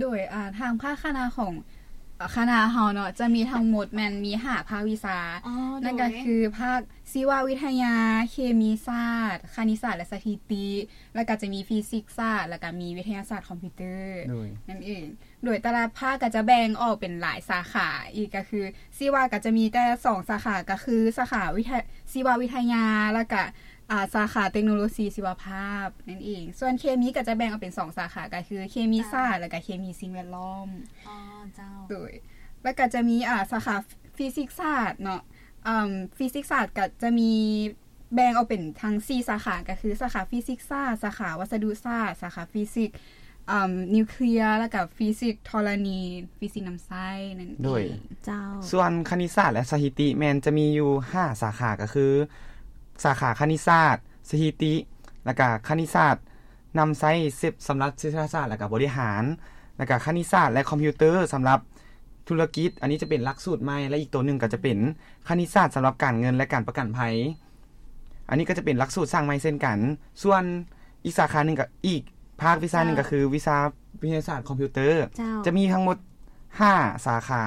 ໂດຍ ອ່າ ທາງພາກຄະນະຂອງ ອ່າ ຄະນະເຮົາເນາະ ຈະມີທັງໝົດແມ່ນມີຫ້າພາກວິຊາ ອໍ ນັ້ນກໍຄືພາກຊີວະວິທະຍາ, ເຄມີສາດ, ຄະນິດສາດ ແລະ ສະຖິຕິ ແລ້ວກໍຈະມີຟີຊິກສາດ ແລ້ວກໍມີວິທະຍາສາດຄອມພິວເຕີ ໂດຍ ນັ້ນເອງ. ໂດຍແຕ່ລະພາກກໍຈະແບ່ງອອກເປັນຫຼາຍສາຂາອີກ ກໍຄືຊີວະກໍຈະມີແຕ່ສອງສາຂາ ກໍຄືສາຂາວິທະ ຊີວະວິທະຍາ ແລ້ວກໍ ອ່າ ສາຂາເຕັກໂນໂລຊີຊີວະພາບນັ້ນເອງ. ສ່ວນເຄມີກໍຈະແບ່ງອອກເປັນສອງສາຂາ ກໍຄືເຄມີສາດ ເຈົ້າ ແລ້ວກໍເຄມີສິ່ງແວດລ້ອມ. ອໍ ເຈົ້າ. ໂດຍ ແລ້ວກໍຈະມີ ອ່າ ສາຂາຟີຊິກສາດເນາະ. ອ່າ ຟີຊິກສາດກໍຈະມີ ແບ່ງອອກເປັນທັງສີ່ສາຂາ ກໍຄືສາຂາຟີຊິກສາດ, ສາຂາວັດສະດຸສາດ, ສາຂາຟີຊິກ ອ່າ ນິວເຄລຍ ແລ້ວກໍຟີຊິກທໍລະນີ, ຟີຊິກນ້ຳໃຊ້ນັ້ນເອງ. ໂດຍ ເຈົ້າ. ສ່ວນຄະນິດສາດ ແລະ ສະຖິຕິ ແມ່ນຈະມີຢູ່ຫ້າສາຂາ ກໍຄືສາຂາຄະນິດສາດ, ສະຖິຕິ ແລ້ວກໍຄະນິດສາດ ນຳໃຊ້ເສັບສຳລັບເສດຖະສາດ ແລ້ວກະບໍລິຫານ ແລ້ວກະຄະນິດສາດ ແລະ ຄອມພິວເຕີສຳລັບທຸລະກິດ. ອັນນີ້ຈະເປັນຫຼັກສູດໃໝ່ ແລະ ອີກໂຕໜຶ່ງກໍຈະເປັນຄະນິດສາດສຳລັບການເງິນ ແລະ ການປະກັນໄພ. ອັນນີ້ກໍຈະເປັນຫຼັກສູດສ້າງໃໝ່ເຊັ່ນກັນ. ສ່ວນອີກສາຂາໜຶ່ງກໍ ອີກພາກວິຊາໜຶ່ງ ເຈົ້າ ກໍຄືວິຊາວິທະຍາສາດຄອມພິວເຕີ ເຈົ້າ ຈະມີທັງໝົດຫ້າສາຂາ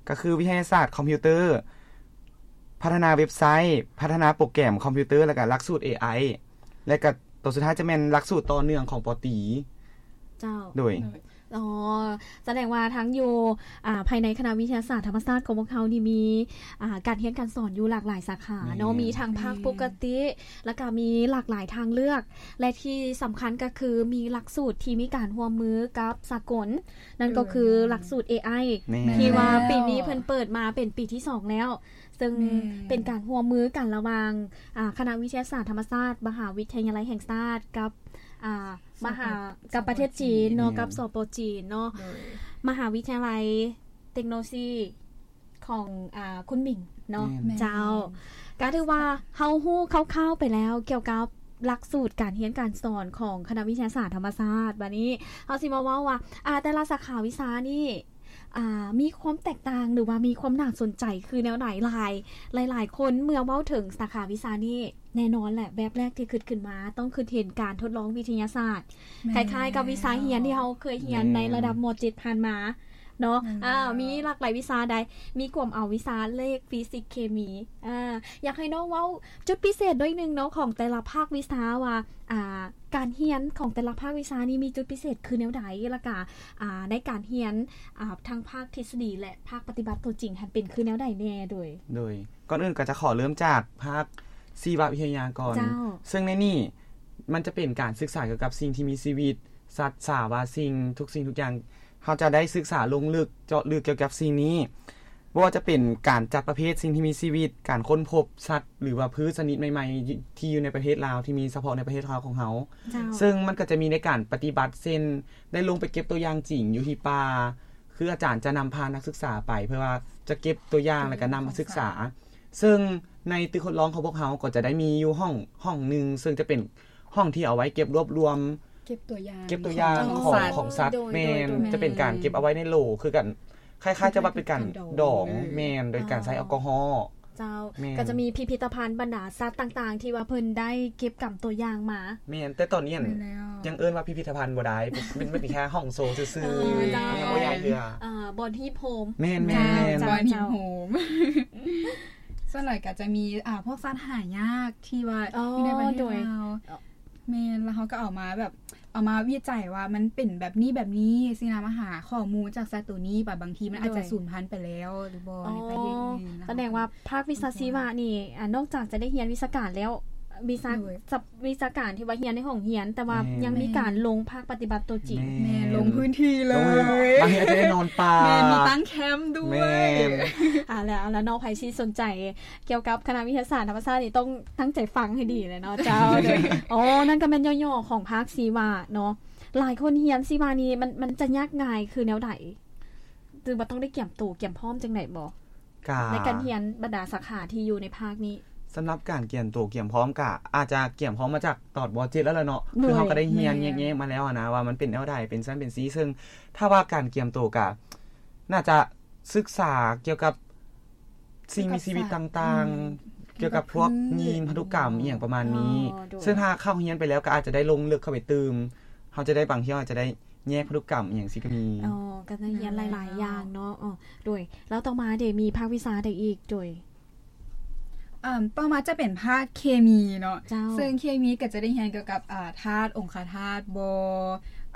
ກໍຄືວິທະຍາສາດຄອມພິວເຕີ, ພັດທະນາເວັບໄຊ, ພັດທະນາໂປຣແກຣມຄອມພິວເຕີ ແລ້ວກະຫຼັກສູດເອໄອ ແລ້ວກະໂຕສຸດທ້າຍຈະແມ່ນຫຼັກສູດຕໍ່ເນື່ອງຂອງ ປ.ຕີ. ເຈົ້າ. ໂດຍ. ອໍ ສະແດງວ່າທັງຢູ່ ອ່າ ພາຍໃນຄະນະວິທະຍາສາດທຳມະຊາດຂອງພວກເຮົານີ້ມີ ອ່າ ການຮຽນການສອນຢູ່ຫຼາກຫຼາຍສາຂາເນາະ, ແມ່ນ ມີທັງພາກປົກກະຕິ ແມ່ນ ແລ້ວກະມີຫຼາກຫຼາຍທາງເລືອກ ແລະ ທີ່ສຳຄັນກໍຄືມີຫຼັກສູດທີ່ມີການຮ່ວມມືກັບສາກົນ, ນັ້ນກໍຄື ເອີ ແມ່ນ ຫຼັກສູດເອໄອ ແມ່ນ ທີ່ວ່າປີນີ້ເພິ່ນເປີດມາເປັນປີທີສອງແລ້ວ. ເຊິ່ງ ແມ່ນ ເປັນການຮ່ວມມືກັນລະຫວ່າງ ອ່າ ຄະນະວິທະຍາສາດທຳມະຊາດ ມະຫາວິທະຍາໄລແຫ່ງຊາດ ກັບ ອ່າ ມະຫາ ສປ ກັບປະເທດຈີນເນາະ ແມ່ນ ກັບ ສປ ຈີນເນາະ ໂດຍ ມະຫາວິທະຍາໄລເຕັກໂນໂລຊີຂອງ ອ່າ ຄຸນໝິງເນາະ ແມ່ນ ເຈົ້າ. ແມ່ນ ກໍຖືວ່າເຮົາຮູ້ຄ່າວໆໄປແລ້ວກ່ຽວກັບຫຼັກສູດການຮຽນການສອນຂອງຄະນະວິທະຍາສາດທຳມະຊາດ. ບາດນີ້ເຮົາຊິມາເວົ້າວ່າ ອ່າ ແຕ່ລະສາຂາວິຊານີ້ ອ່າ ມີຄວາມແຕກຕ່າງ ຫຼືວ່າມີຄວາມໜ້າສົນໃຈຄືແນວໃດ? ຫຼາຍ ຫຼາຍໆຄົນເມື່ອເວົ້າເຖິງສາຂາວິຊານີ້ ແນ່ນອນແຫຼະ ແວບແລກທີ່ຄິດຂຶ້ນມາຕ້ອງຄິດເຫັນການທົດລອງວິທະຍາສາດ ແມ່ນ ຄ້າຍໆກັບວິຊາຮຽນທີ່ເຮົາເຄີຍຮຽນ ແມ່ນ ໃນລະດັບ ມ.ເຈັດ ຜ່ານມາເນາະ. ແມ່ນ ອ່າ ມີຫຼາກຫຼາຍວິຊາໃດ ມີກວມເອົາວິຊາເລກ, ຟີຊິກ, ເຄມີ. ອ່າ ຢາກໃຫ້ນ້ອງເວົ້າຈຸດພິເສດໜ້ອຍໜຶ່ງເນາະ ຂອງແຕ່ລະພາກວິຊາວ່າ ອ່າ ການຮຽນຂອງແຕ່ລະພາກວິຊານີ້ມີຈຸດພິເສດຄືແນວໃດ? ແລ້ວກະ ອ່າ ໃນການຮຽນ ອ່າ ທັງພາກທິດສະດີ ແລະ ພາກປະຕິບັດຕົວຈິງຫັ້ນເປັນຄືແນວໃດແນ່? ໂດຍ ໂດຍ ກ່ອນອື່ນກໍຈະຂໍເລີ່ມຈາກພາກຊີວະວິທະຍາກ່ອນ. ເຈົ້າ. ເຊິ່ງໃນນີ້ມັນຈະເປັນການສຶກສາກ່ຽວກັບສິ່ງທີ່ມີຊີວິດ, ສັດ, ສາວະສິ່ງ, ທຸກສິ່ງທຸກຢ່າງ. ເຮົາຈະໄດ້ສຶກສາລົງເລິກ, ເຈາະເລິກກ່ຽວກັບສິ່ງນີ້. ບໍ່ວ່າຈະເປັນການຈັດປະເພດສິ່ງທີ່ມີຊີວິດ, ການຄົ້ນພົບສັດ ຫຼືວ່າພືດຊະນິດໃໝ່ໆ ທີ່ຢູ່ໃນປະເທດລາວ ທີ່ມີສະເພາະໃນປະເທດລາວຂອງເຮົາ. ເຈົ້າ. ເຊິ່ງມັນກໍຈະມີໃນການປະຕິບັດ ເຊັ່ນ ໄດ້ລົງໄປເກັບຕົວຢ່າງຈິງຢູ່ທີ່ປ່າ, ຄືອາຈານຈະນຳພານັກສຶກສາໄປ ເພື່ອວ່າຈະເກັບຕົວຢ່າງ ແລ້ວກໍນຳມາສຶກສາ. ເຊິ່ງໃນຕຶກທົດລອງຂອງພວກເຮົາກໍຈະໄດ້ມີຢູ່ຫ້ອງ ຫ້ອງໜຶ່ງ ເຊິ່ງຈະເປັນຫ້ອງທີ່ເອົາໄວ້ເກັບລວບລວມ ເກັບຕົວຢ່າງ ເກັບຕົວຢ່າງຂອງ ຂອງສັດ ຂອງສັດ. ໂດຍ ແມ່ນ ໂດຍ ຈະເປັນການເກັບເອົາໄວ້ໃນໂຫຼຄືກັນ ຄ້າຍໆຈະວ່າເປັນການດອງ. ແມ່ນ ໂດຍການໃຊ້ແອລກໍຮໍ. ເຈົ້າ. ແມ່ນ ກໍຈະມີພິພິທະພັນບັນດາສັດຕ່າງໆ ທີ່ວ່າເພິ່ນໄດ້ເກັບກຳຕົວຢ່າງມາ. ແມ່ນ ແຕ່ຕອນນີ້ ແມ່ນແລ້ວ ຍັງເອີ້ນວ່າພິພິທະພັນບໍ່ໄດ້ ເປັນ ເປັນ ເປັນແຄ່ຫ້ອງໂຊຊື່ໆ. ເອີ ເຈົ້າ. ຍັງບໍ່ໃຫຍ່ເທື່ອ. ເອີ ບ່ອນຮີບໂຮມ. ແມ່ນໆ. ເຈົ້າ ບ່ອນຮີບໂຮມ. ສ່ວນຫຼາຍກໍຈະມີ ອ່າ ພວກສັດຫາຍາກທີ່ວ່າ ອໍ ຢູ່ໃນປະເທດລາວ. ແມ່ນ ແລ້ວເຮົາກໍເອົາມາແບບ ເອົາມາວິໄຈວ່າມັນເປັນແບບນີ້ແບບນີ້ ຊິນຳມາຫາຂໍ້ມູນຈາກສັດໂຕນີ້ ບາງທີມັນອາດຈະສູນພັນໄປແລ້ວຫຼືບໍ່ ໃນປະເທດອື່ນ. ສະແດງວ່າພາກວິຊາຊີວະນີ້ ອ່າ ນອກຈາກຈະໄດ້ຮຽນວິຊາການແລ້ວ ວິຊາ ໂດຍ ສັບ ວິຊາການທີ່ວ່າຮຽນໃນຫ້ອງຮຽນ ແຕ່ວ່າ ແມ່ນ ຍັງມີການລົງພາກປະຕິບັດຕົວຈິງ. ແມ່ນ ແມ່ນ ລົງພື້ນທີ່ເລີຍ. ບາງທີອາດຈະໄດ້ນອນປ່າ. ແມ່ນ ມີຕັ້ງແຄ້ມດ້ວຍ. ແມ່ນ. ເອົາລະ ເອົາລະ ນ້ອງໄພຊິສົນໃຈ ກ່ຽວກັບຄະນະວິທະຍາສາດທຳມະຊາດນີ້ຕ້ອງຕັ້ງໃຈຟັງໃຫ້ດີເລີຍເນາະ. ເຈົ້າ. ໂດຍ ອໍ ນັ້ນກໍແມ່ນຫຍໍ້ໆຂອງພາກຊີວະເນາະ. ຫຼາຍຄົນຮຽນຊີວະນີ້ ມັນ ມັນຈະຍາກງ່າຍຄືແນວໃດ? ຫຼືວ່າຕ້ອງໄດ້ກຽມໂຕກຽມພ້ອມຈັ່ງໃດບໍ່? ກະ ໃນການຮຽນບັນດາສາຂາທີ່ຢູ່ໃນພາກນີ້. ສຳລັບການກຽມໂຕກຽມພ້ອມ ກະອາດຈະກຽມພ້ອມມາຈາກຕອນ ມ.ເຈັດ ແລ້ວລະເນາະ. ໂດຍ ຄືເຮົາກໍໄດ້ຮຽນ ແມ່ນ ແຍກແຍະມາແລ້ວຫັ້ນນະ ວ່າມັນເປັນແນວໃດ ເປັນຊັ້ນເປັນຊີ້. ເຊິ່ງຖ້າວ່າການກຽມໂຕ ກະໜ້າຈະ ສຶກສາກ່ຽວກັບສິ່ງມີຊີວິດຕ່າງໆ ກ່ຽວກັບພວກ ອືມ ຢີນພັນທຸກຳ ອີ່ຫຍັງປະມານນີ້. ອໍ ໂດຍ. ເຊິ່ງຖ້າເຂົ້າຮຽນໄປແລ້ວກໍອາດຈະໄດ້ລົງເລິກເຂົ້າໄປຕື່ມ ເຮົາຈະໄດ້ ບາງເທື່ອອາດຈະໄດ້ ແຍກພັນທຸກຳ ອີ່ຫຍັງຊີ້ກໍມີ. ອໍ ກໍໄດ້ຮຽນຫຼາຍໆຢ່າງເນາະ. ອໍ ໂດຍ ແລ້ວຕໍ່ມາເດ ມີພາກວິຊາໃດອີກ? ໂດຍ ອ່າ ຕໍ່ມາຈະເປັນພາກເຄມີເນາະ. ເຈົ້າ ເຊິ່ງເຄມີກໍຈະໄດ້ຮຽນກ່ຽວກັບ ອ່າ ທາດ ອົງຄະທາດບໍ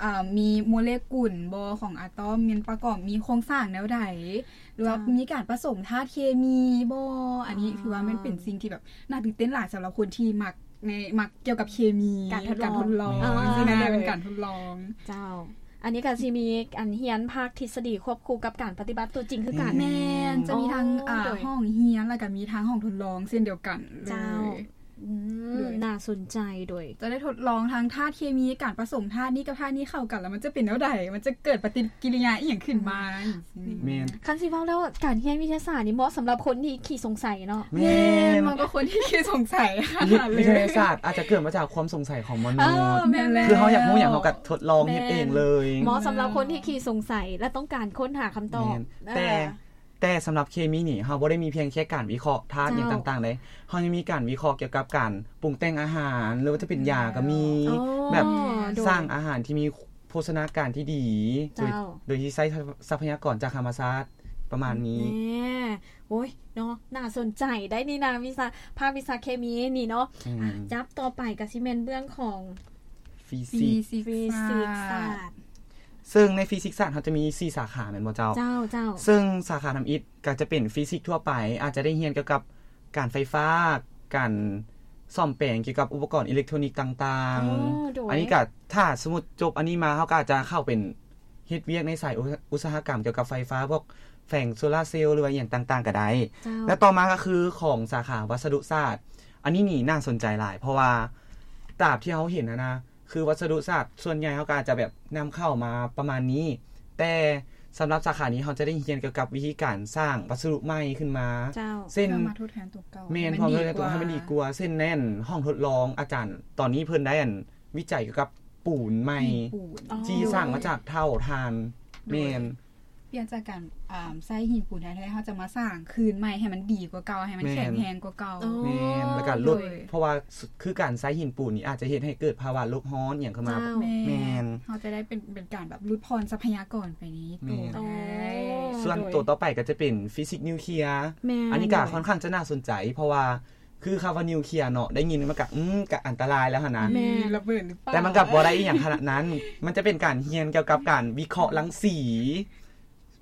ອ່າ ມີໂມເລກຸນບໍຂອງອາຕອມ ມັນປະກອບ ມີໂຄງສ້າງແນວໃດ ຫຼືວ່າ ເຈົ້າ ມີການປະສົມທາດເຄມີບໍ. ອັນນີ້ ອ່າ ຖືວ່າມັນເປັນສິ່ງທີ່ແບບໜ້າຕື່ນເຕັ້ນຫຼາຍສຳລັບຄົນທີ່ມັກ ໃນ ມັກກ່ຽວກັບເຄມີ ການທົດລອງ ການທົດລອງ ອໍ ຊີ້ນະ ໂດຍ ເປັນການທົດລອງ. ເຈົ້າ ອັນນີ້ກໍຊິມີອັນຮຽນພາກທິດສະດີຄວບຄູ່ກັບການປະຕິບັດຕົວຈິງຄືກັນ. ແມ່ນ ຈະມີທັງ ອໍ ອ່າ ໂດຍ ຫ້ອງຮຽນ ແລ້ວກໍມີທັງຫ້ອງທົດລອງເຊັ່ນດຽວກັນເລີຍ. ເຈົ້າ ອືມ ໂດຍ ໜ້າສົນໃຈ. ໂດຍ ຈະໄດ້ທົດລອງທັງທາດເຄມີ ການປະສົມທາດນີ້ກັບທາດນີ້ເຂົ້າກັນ ແລ້ວມັນຈະເປັນແນວໃດ ມັນຈະເກີດປະຕິກິລິຍາອີ່ຫຍັງຂຶ້ນມາ. ອືມ ຈັ່ງຊີ້. ແມ່ນ ຄັນຊິເວົ້າແລ້ວ ການຮຽນວິທະຍາສາດນີ້ເໝາະສຳລັບຄົນທີ່ຂີ້ສົງໄສເນາະ. ແມ່ນ ແມ່ນ ເໝາະກັບຄົນທີ່ຂີ້ສົງໄສ. ວິ ວິທະຍາສາດອາດຈະເກີດມາຈາກຄວາມສົງໄສຂອງມະນຸດ. ເອີ ແມ່ນແລ້ວ ຄືເຮົາຢາກຮູ້ຫຍັງ ເຮົາກໍທົດລອງເຮັດເອງເລີຍ. ແມ່ນ ເໝາະສຳລັບຄົນທີ່ຂີ້ສົງໄສ ແລະ ຕ້ອງການຄົ້ນຫາຄຳຕອບ. ແມ່ນ ເອີ ແຕ່ ແຕ່ສຳລັບເຄມີນີ້ ເຮົາບໍ່ໄດ້ມີພຽງແຄ່ການວິເຄາະທາດ ເຈົ້າ ຫຍັງຕ່າງໆເດ. ເຮົາຍັງມີການວິເຄາະກ່ຽວກັບການປຸງແຕ່ງອາຫານ ຫຼືວ່າຈະເປັນຢາກໍມີ. ອໍ ແບບ ໂດຍ ສ້າງອາຫານທີ່ມີໂພຊະນາການທີ່ດີ ໂດຍ ເຈົ້າ ໂດຍທີ່ໃຊ້ຊັບພະຍາກອນຈາກທຳມະຊາດ ປະມານນີ້. ແນ່ ໂອ້ຍ ເນາະ ໜ້າສົນໃຈໄດ໋ນີ້ນະ ວິຊາ ພາກວິຊາເຄມີນີ້ເນາະ. ອືມ ຈັບຕໍ່ໄປກໍຊິແມ່ນເບື້ອງຂອງຟີຊິກ ຟີຊິກ ຟີຊິກສາດ. ເຊິ່ງໃນຟີຊິກສາດເຮົາຈະມີສີ່ສາຂາແມ່ນບໍ່ເຈົ້າ? ເຈົ້າ ເຈົ້າ. ເຊິ່ງສາຂາທຳອິດກໍຈະເປັນຟີຊິກທົ່ວໄປ ອາດຈະໄດ້ຮຽນກ່ຽວກັບການໄຟຟ້າ ການສ້ອມແປງກ່ຽວກັບອຸປະກອນອີເລັກໂທນິກຕ່າງໆ. ໂອ້ ໂດຍ. ອັນນີ້ກໍ ຖ້າສົມມຸດຈົບອັນນີ້ມາ ເຮົາກໍອາດຈະເຂົ້າເປັນ ເຮັດວຽກໃນສາຍອຸ ອຸດສາຫະກຳກ່ຽວກັບໄຟຟ້າ ພວກແຜງໂຊລາເຊວ ຫຼືວ່າອີ່ຫຍັງຕ່າງໆກໍໄດ້. ເຈົ້າ. ແລະ ຕໍ່ມາກໍຄືຂອງສາຂາວັດສະດຸສາດ ອັນນີ້ນີ້ໜ້າສົນໃຈຫຼາຍ ເພາະວ່າຕາມທີ່ເຮົາເຫັນຫັ້ນນະ ຄືວັດສະດຸສາດສ່ວນໃຫຍ່ເຮົາກໍອາດຈະແບບນຳເຂົ້າມາປະມານນີ້ ແຕ່ສຳລັບສາຂານີ້ເຮົາຈະໄດ້ຮຽນກ່ຽວກັບວິທີການສ້າງວັດສະດຸໃໝ່ຂຶ້ນມາ. ເຈົ້າ. ເຊັ່ນ ເພື່ອມາທົດແທນຕົວເກົ່າ. ແມ່ນ ໃຫ້ມັນດີກວ່າ ເພື່ອເຮັດໃຫ້ມັນດີກວ່າ ເຊັ່ນແມ່ນຫ້ອງທົດລອງ ອາຈານຕອນນີ້ເພິ່ນໄດ້ອັນ ວິໄຈກ່ຽວກັບປູນໃໝ່ ຫີນປູນ ອໍ ທີ່ສ້າງມາຈາກເຖົ້າຖ່ານ. ໂດຍ. ແມ່ນ ປ່ຽນຈາກການ ອ່າ ໃຊ້ຫີນປູນແທ້ໆ ເຮົາຈະມາສ້າງຄືນໃໝ່ໃຫ້ມັນດີກວ່າເກົ່າ ໃຫ້ມັນ ແມ່ນ ແຂງແຮງກວ່າເກົ່າ. ອໍ ແມ່ນ ແລ້ວກໍລົດ ໂດຍ ເພາະວ່າ ສ- ຄືການໃຊ້ຫີນປູນນີ້ອາດຈະເຮັດໃຫ້ເກີດພາວະໂລກຮ້ອນອີ່ຫຍັງຂຶ້ນມາ. ເຈົ້າ. ແມ່ນ ແມ່ນ ເຮົາຈະໄດ້ເປັນ ເປັນການແບບຫຼຸດຜ່ອນຊັບພະຍາກອນໄປໃນໂຕ. ແມ່ນ ໄດ້. ອໍ ສ່ວນ ໂດຍ ໂຕຕໍ່ໄປກໍຈະເປັນຟີຊິກນິວເຄຍ. ແມ່ນ ອັນນີ້ກໍຂ້ອນຂ້າງຈະໜ້າສົນໃຈ ເພາະວ່າ ຄືຄຳວ່ານິວເຄຍເນາະ ໄດ້ຍິນມັນກໍ ອືມ ກໍອັນຕະລາຍແລ້ວຫັ້ນນະ. ແມ່ນ ລະເບີດຫຼືເປົ່າ? ແຕ່ມັນກໍບໍ່ໄດ້ອີ່ຫຍັງຂະໜາດນັ້ນ ມັນຈະເປັນການຮຽນກ່ຽວກັບການວິເຄາະລັງສີ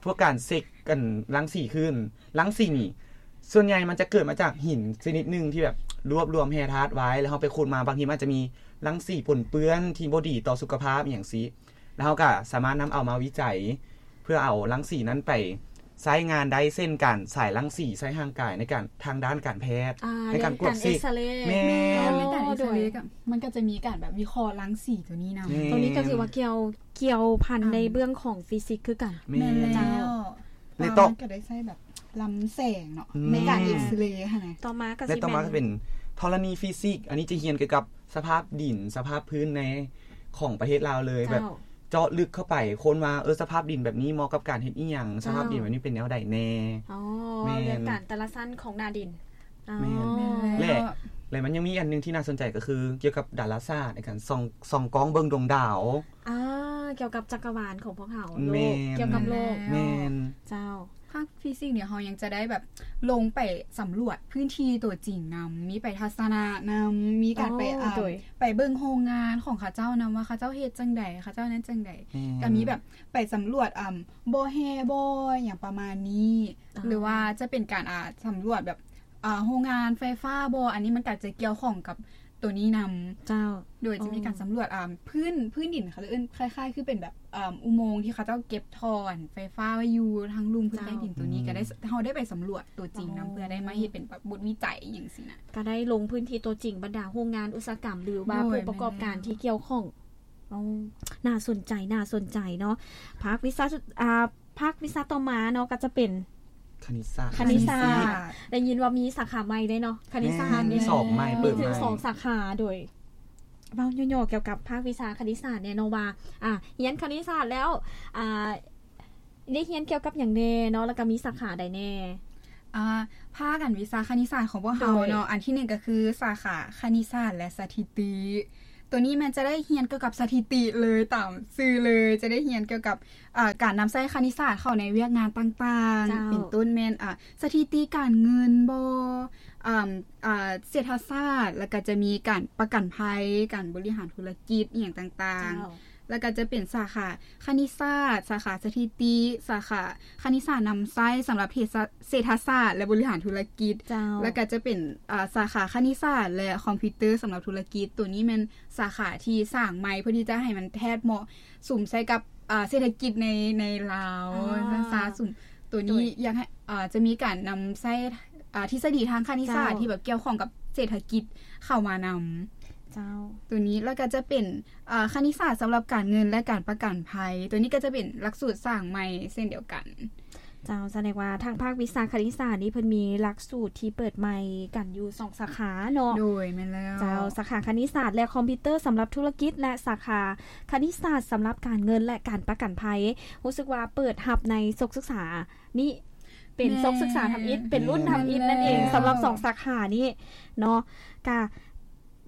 ພວກການເຊັກກັນລັງສີຄື້ນ. ລັງສີນີ້ ສ່ວນໃຫຍ່ມັນຈະເກີດມາຈາກຫີນຊະນິດໜຶ່ງທີ່ແບບລວບລວມແຮ່ທາດໄວ້ ແລ້ວເຮົາໄປຂຸດມາ ບາງທີມັນອາດຈະມີລັງສີປົນເປື້ອນທີ່ບໍ່ດີຕໍ່ສຸຂະພາບ ອີ່ຫຍັງຊີ້. ແລ້ວເຮົາກໍສາມາດນຳເອົາມາວິໄຈ ເພື່ອເອົາລັງສີນັ້ນໄປໃຊ້ງານໄດ້ ເຊັ່ນ ການສາຍລັງສີໃສ່ຮ່າງກາຍໃນການ ທາງດ້ານການແພດ ອ່າ ໃນການກວດເຊັກ. ເຮັດການເອັກຊະເຣ. ແມ່ນ ອໍ ເຮັດການເອັກຊະເຣ ໂດຍ ກໍ ມັນກໍຈະມີການແບບວິເຄາະລັງສີຕົວນີ້ນຳ. ແມ່ນ ຕົວນີ້ກໍຖືວ່າກ່ຽວ ກ່ຽວພັນ ອ່າ ໃນເບື້ອງຂອງຟີຊິກຄືກັນ. ແມ່ນ ແມ່ນແລ້ວ. ເຈົ້າ. ແລ້ວຕໍ່ ມັນກໍໄດ້ໃຊ້ແບບລຳແສງເນາະ ອືມ ໃນການເອັກຊະເຣຫັ້ນນະ. ຕໍ່ມາກໍ ແລະ ຊິ ຕໍ່ມາກໍເປັນ ເປັນທໍລະນີຟີຊິກ ອັນນີ້ຈະຮຽນກ່ຽວກັບສະພາບດິນ ສະພາບພື້ນໃນ ຂອງປະເທດລາວເລີຍ. ເຈົ້າ. ແບບເຈາະລຶກເຂົ້າໄປ ຄົ້ນວ່າ ເອີ ສະພາບດິນແບບນີ້ເໝາະກັບການເຮັດອີ່ຫຍັງ? ເຈົ້າ. ສະພາບດິນແບບນີ້ເປັນແນວໃດແດ່? ອໍ ແມ່ນ ເລື່ອງການແຕ່ລະຊັ້ນຂອງໜ້າດິນ. ອໍ ແມ່ນ ແລະ ແລະ ມັນຍັງມີອັນໜຶ່ງທີ່ໜ້າສົນໃຈ ກໍຄືກ່ຽວກັບດາລາສາດ ໃນການສ່ອງ ສ່ອງກ້ອງເບິ່ງດວງດາວ. ອ່າ ກ່ຽວກັບຈັກກະວານຂອງພວກເຮົາ ໂລກ ແມ່ນ ກ່ຽວກັບໂລກ. ແມ່ນ ເຈົ້າ. ພາກຟີຊິກນີ້ເຮົາຍັງຈະໄດ້ແບບລົງໄປສຳຫຼວດພື້ນທີ່ຕົວຈິງນຳ ມີໄປທັດສະນະນຳ ມີການໄປ ອໍ ອ່າ ໂດຍ ໄປເບິ່ງໂຮງງານຂອງເຂົາເຈົ້ານຳ ວ່າເຂົາເຈົ້າເຮັດຈັ່ງໃດ ເຂົາເຈົ້ານັ້ນຈັ່ງໃດ. ແມ່ນ ກໍມີແບບໄປສຳຫຼວດ ອ່າ ບໍ່ແຮ່ບໍ່ຫຍັງປະມານນີ້ ອໍ ຫຼືວ່າຈະເປັນການ ອ່າ ສຳຫຼວດແບບ ອ່າ ໂຮງງານໄຟຟ້າບໍ ອັນນີ້ມັນກໍຈະກ່ຽວຂ້ອງກັບ ຕົວນີ້ນຳ. ເຈົ້າ. ໂດຍຈະມີການ ໂອ້ ສຳຫຼວດ ອ່າ ພື້ນ ພື້ນດິນ ເຂົາເອີ້ນຄ້າຍໆ ຄືເປັນແບບ ອ່າ ອຸໂມງທີ່ເຂົາເຈົ້າເກັບທໍ່ໄຟຟ້າໄວ້ຢູ່ທາງລຸ່ມພື້ນ ເຈົ້າ ໃຕ້ດິນຕົວນີ້ ອືມ ກໍໄດ້ ເຮົາໄດ້ໄປສຳຫຼວດຕົວຈິງນຳ ອໍ ເພື່ອໄດ້ມາເຮັດເປັນແບບບົດວິໄຈຫຍັງຊີ້ນະ ກໍໄດ້ລົງພື້ນທີ່ຕົວຈິງ ບັນດາໂຮງງານອຸດສາຫະກຳ ຫຼືວ່າ ໂດຍ ຜູ້ປະກອບການ ແມ່ນແລ້ວ ທີ່ກ່ຽວຂ້ອງ. ອໍ ໜ້າສົນໃຈ ໜ້າສົນໃຈເນາະ. ພາກວິຊາ ອ່າ ພາກວິຊາຕໍ່ມາເນາະ ກໍຈະເປັນຄະນິດສາດ. ຄະນິດສາດ ຄະນິດສາດ ໄດ້ຍິນວ່າມີສາຂາໃໝ່ເດ້ເນາະ ຄະນິດສາດ. ແມ່ນ ນີ້ ມີສອບໃໝ່ ມີເປີດໃໝ່ ມີເຖິງສອງສາຂາ. ໂດຍເວົ້າຫຍໍ້ໆ ກ່ຽວກັບພາກວິຊາຄະນິດສາດແດ່ເນາະ ວ່າ ອ່າ ຮຽນຄະນິດສາດແລ້ວ ອ່າ ໄດ້ຮຽນກ່ຽວກັບຫຍັງແດ່ເນາະ ແລ້ວກໍມີສາຂາໃດແດ່? ອ່າ ພາກ ອັນ ວິຊາຄະນິດສາດຂອງພວກເຮົາເນາະ ໂດຍ ອັນທີໜຶ່ງກໍຄືສາຂາຄະນິດສາດ ແລະ ສະຖິຕິ. ຕົວນີ້ແມ່ນຈະໄດ້ຮຽນກ່ຽວກັບສະຖິຕິເລີຍ ຕາມຊື່ເລີຍ ຈະໄດ້ຮຽນກ່ຽວກັບ ເອີ ການນຳໃຊ້ຄະນິດສາດເຂົ້າໃນວຽກງານຕ່າງໆ ເຈົ້າ ເປັນຕົ້ນແມ່ນ ອາ ສະຖິຕິການເງິນບໍ ອາ ອາ ເສດຖະສາດ ແລ້ວກໍຈະມີການປະກັນໄພ ການບໍລິຫານທຸລະກິດ ອີ່ຫຍັງຕ່າງໆ ເຈົ້າ ແລ້ວກໍຈະເປັນສາຂາຄະນິດສາດ ສາຂາສະຖິຕິ ສາຂາຄະນິດສາດນຳໃຊ້ສຳລັບເພສະ ເສດຖະສາດ ແລະ ບໍລິຫານທຸລະກິດ ເຈົ້າ ແລ້ວກໍຈະເປັນ ອາ ສາຂາຄະນິດສາດ ແລະ ຄອມພິວເຕີສຳລັບທຸລະກິດ. ຕົວນີ້ແມ່ນສາຂາທີ່ສ້າງໃໝ່ ເພື່ອທີ່ຈະໃຫ້ມັນແທດເໝາະ ສຸມໃສ່ກັບ ອາ ເສດຖະກິດໃນ ໃນລາວ ອາ ຊັ້ນຊະ ສຸມ ຕົວນີ້ ໂດຍ ຢາກໃຫ້ ອາ ຈະມີການນຳໃຊ້ ອາ ທິດສະດີທາງຄະນິດສາດ ເຈົ້າ ທີ່ແບບກ່ຽວຂ້ອງກັບເສດຖະກິດເຂົ້າມານຳ ເຈົ້າ ຕົວນີ້ ແລ້ວກໍຈະເປັນ ອາ ຄະນິດສາດສຳລັບການເງິນ ແລະ ການປະກັນໄພ ຕົວນີ້ກໍຈະເປັນຫຼັກສູດສ້າງໃໝ່ເຊັ່ນດຽວກັນ. ເຈົ້າ ສະແດງວ່າທາງພາກວິຊາຄະນິດສາດນີ້ເພິ່ນມີຫຼັກສູດທີ່ເປີດໃໝ່ກັນຢູ່ສອງສາຂາເນາະ. ໂດຍ ແມ່ນແລ້ວ. ເຈົ້າ ສາຂາຄະນິດສາດ ແລະ ຄອມພິວເຕີສຳລັບທຸລະກິດ ແລະ ສາຂາຄະນິດສາດສຳລັບການເງິນ ແລະ ການປະກັນໄພ. ຮູ້ສຶກວ່າເປີດຮັບໃນສົກສຶກສານີ້ ເປັນ ແມ່ນ ສົກສຶກສາທຳອິດ ເປັນລຸ້ນທຳອິດນັ້ນເອງ ແມ່ນແລ້ວ ສຳລັບສອງສາຂານີ້ເນາະ. ກະ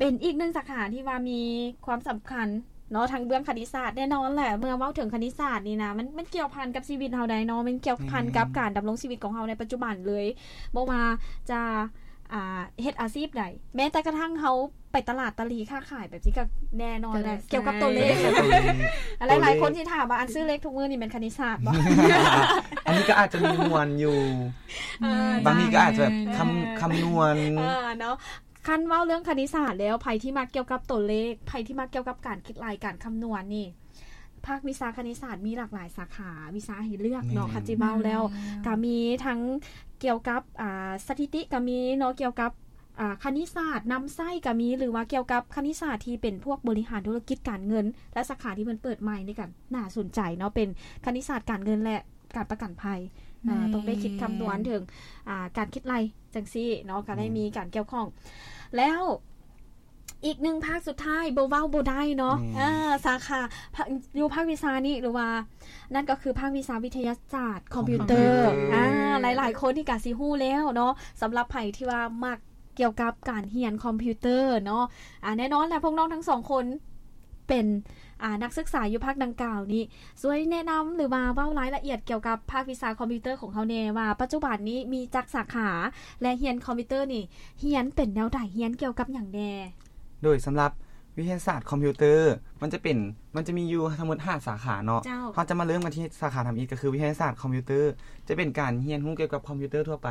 ເປັນອີກໜຶ່ງສາຂາທີ່ວ່າມີຄວາມສຳຄັນເນາະ ທາງເບື້ອງຄະນິດສາດ. ແນ່ນອນແຫຼະ ເມື່ອເວົ້າເຖິງຄະນິດສາດນີ້ນະ ມັນ ມັນກ່ຽວພັນກັບຊີວິດເຮົາໄດ໋ເນາະ ມັນກ່ຽວພັນ ແມ່ນ ກັບການດຳລົງຊີວິດຂອງເຮົາໃນປັດຈຸບັນເລີຍ. ບໍ່ວ່າຈະ ອ່າ ເຮັດອາຊີບໃດ ແມ້ແຕ່ກະທັ່ງເຮົາໄປຕະຫຼາດຕະຫຼີຄ້າຂາຍແບບນີ້ກະແນ່ນອນແຫຼະ ກະໄດ້ ກ່ຽວກັບຕົວເລກ. ແມ່ນ ຕົວເລກ ຫຼາຍໆຄົນຊິຖາມວ່າ ອັນຊື້ເລກທຸກມື້ນີ້ແມ່ນຄະນິດສາດບໍ່? ອັນນີ້ກໍອາດຈະມີມ່ວນຢູ່ ອ່າ ບາງທີກໍອາດຈະແບບ ຄຳ ເອີ ຄຳນວນ ເອີ ເນາະ. ຄັນເວົ້າເລື່ອງຄະນິດສາດແລ້ວ ໃຜທີ່ມັກກ່ຽວກັບຕົວເລກ ໃຜທີ່ມັກກ່ຽວກັບການຄິດໄລ່ ການຄຳນວນນີ້ ພາກວິຊາຄະນິດສາດມີຫຼາກຫຼາຍສາຂາ ວິຊາໃຫ້ເລືອກເນາະ. ແມ່ນ ຄັນຊິເວົ້າແລ້ວ ແມ່ນ ກະມີທັງກ່ຽວກັບ ອ່າ ສະຖິຕິກະມີເນາະ ກ່ຽວກັບ ອ່າ ຄະນິດສາດນຳໃຊ້ກະມີ ຫຼືວ່າກ່ຽວກັບຄະນິດສາດທີ່ເປັນພວກບໍລິຫານທຸລະກິດການເງິນ ແລະ ສາຂາທີ່ເພິ່ນເປີດໃໝ່ນີ້ກະໜ້າສົນໃຈເນາະ ເປັນຄະນິດສາດການເງິນ ແລະ ການປະກັນໄພ. ແມ່ນ ເອີ ຕ້ອງໄດ້ຄິດຄຳນວນເຖິງ ອ່າ ການຄິດໄລ່ຈັ່ງຊີ້ເນາະ ກໍໄດ້ ແມ່ນ ມີການກ່ຽວຂ້ອງ. ແລ້ວອີກໜຶ່ງພາກສຸດທ້າຍ ບໍ່ເວົ້າບໍ່ໄດ້ເນາະ. ແມ່ນ ເອີ ສາຂາ ພາ ຢູ່ພາກວິຊານີ້ ຫຼືວ່າ ນັ້ນກໍຄືພາກວິຊາວິທະຍາສາດຄອມພິວເຕີ. ຄອມພິວເຕີ ອ່າ ຫຼາຍໆຄົນນີ້ກະຊິຮູ້ແລ້ວເນາະ ສຳລັບໃຜທີ່ວ່າມັກ ກ່ຽວກັບການຮຽນຄອມພິວເຕີເນາະ. ອາ ແນ່ນອນແຫຼະ ພວກນ້ອງທັງສອງຄົນເປັນ ອາ ນັກສຶກສາຢູ່ພາກດັ່ງກ່າວນີ້ ຊ່ວຍແນະນຳ ຫຼືວ່າເວົ້າລາຍລະອຽດກ່ຽວກັບພາກວິຊາຄອມພິວເຕີຂອງເຮົາແດ່ ວ່າປັດຈຸບັນນີ້ມີຈັກສາຂາ ແລະ ຮຽນຄອມພິວເຕີນີ້ຮຽນເປັນແນວໃດ ຮຽນກ່ຽວກັບຫຍັງແດ່? ໂດຍ ສຳລັບວິທະຍາສາດຄອມພິວເຕີ ມັນຈະເປັນ ມັນຈະມີຢູ່ທັງໝົດຫ້າສາຂາເນາະ. ເຈົ້າ ເຮົາຈະມາເລີ່ມກັນທີ່ສາຂາທຳອິດ ກໍຄືວິທະຍາສາດຄອມພິວເຕີ ຈະເປັນການຮຽນຮູ້ກ່ຽວກັບຄອມພິວເຕີທົ່ວໄປ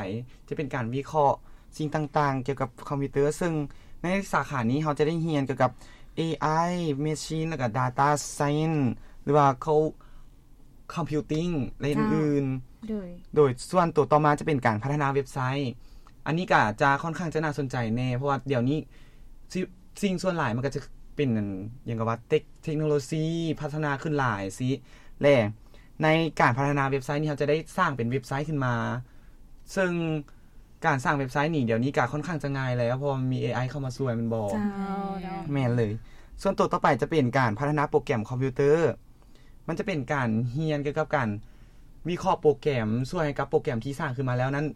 ຈະເປັນການວິເຄາະ ສິ່ງຕ່າງໆກ່ຽວກັບຄອມພິວເຕີ ເຊິ່ງໃນສາຂານີ້ເຮົາຈະໄດ້ຮຽນກ່ຽວກັບ ເອໄອ Machine ແລ້ວກໍ Data Science ຫຼືວ່າ Cloud Computing ແລະ ເຈົ້າ ອື່ນໆ. ໂດຍ ໂດຍ ສ່ວນຕົວຕໍ່ມາຈະເປັນການພັດທະນາເວັບໄຊ. ອັນນີ້ກໍຈະຄ່ອນຂ້າງຈະໜ້າສົນໃຈແດ່ ເພາະວ່າດຽວນີ້ ຊິ ສິ່ງສ່ວນຫຼາຍມັນກໍຈະເປັນ ຫຍັງກໍວ່າ ເຕັກ ເຕັກໂນໂລຊີພັດທະນາຂຶ້ນຫຼາຍຊີ້ ແລະ ໃນການພັດທະນາເວັບໄຊນີ້ ເຮົາຈະໄດ້ສ້າງເປັນເວັບໄຊຂຶ້ນມາ ເຊິ່ງ ການສ້າງເວັບໄຊນີ້ ດຽວນີ້ກະຄ່ອນຂ້າງຈະງ່າຍແລ້ວ ເພາະວ່າມັນມີ ເອໄອ ເຂົ້າມາຊ່ວຍແມ່ນບໍ່? ເຈົ້າ ເຈົ້າ ແມ່ນເລີຍ. ສ່ວນໂຕຕໍ່ໄປຈະເປັນການພັດທະນາໂປຣແກຣມຄອມພິວເຕີ ມັນຈະເປັນການຮຽນກ່ຽວກັບການວິເຄາະໂປຣແກຣມ ຊ່ວຍໃຫ້ກັບໂປຣແກຣມທີ່ສ້າງຂຶ້ນມາແລ້ວນັ້ນ